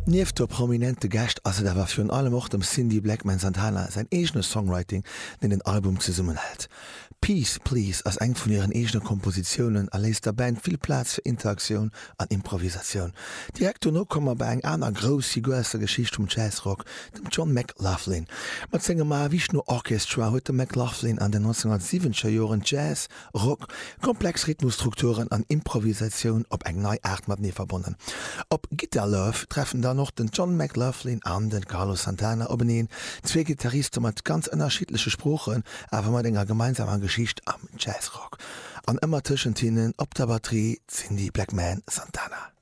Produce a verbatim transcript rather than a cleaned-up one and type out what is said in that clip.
Nieft de prominente Gäscht ass et awer virun allem och dem Cindy Blackman Santana säin eegene Songwriting, deen den Album zesummenhält. Peace Please ass eng vun hiren eegene Kompositiounen a léisst der Band vill Plaz fir Interaktioun an Improvisatioun. Direkt dono komme mer bei eng aner grouss Figur aus der Geschicht vum Jazzrock, dem John McLaughlin. Mat sengem Mahavishnu Orchestra huet de McLaughlin an den nonzénhunnertsiwwenzeger Joren Jazz, Rock, komplex Rhythmusstrukturen an Improvisatioun op eng nei Aart matenee verbonnen. Op Guitar Love treffen dann och den John McLaughlin an de Carlos Santana openeen, zwee Gittariste mat ganz ënnerschiddleche Sproochen, awer mat enger gemeinsamer Geschicht am Jazzrock. An ëmmer tëschent hinnen op der Batterie Cindy Blackman Santana.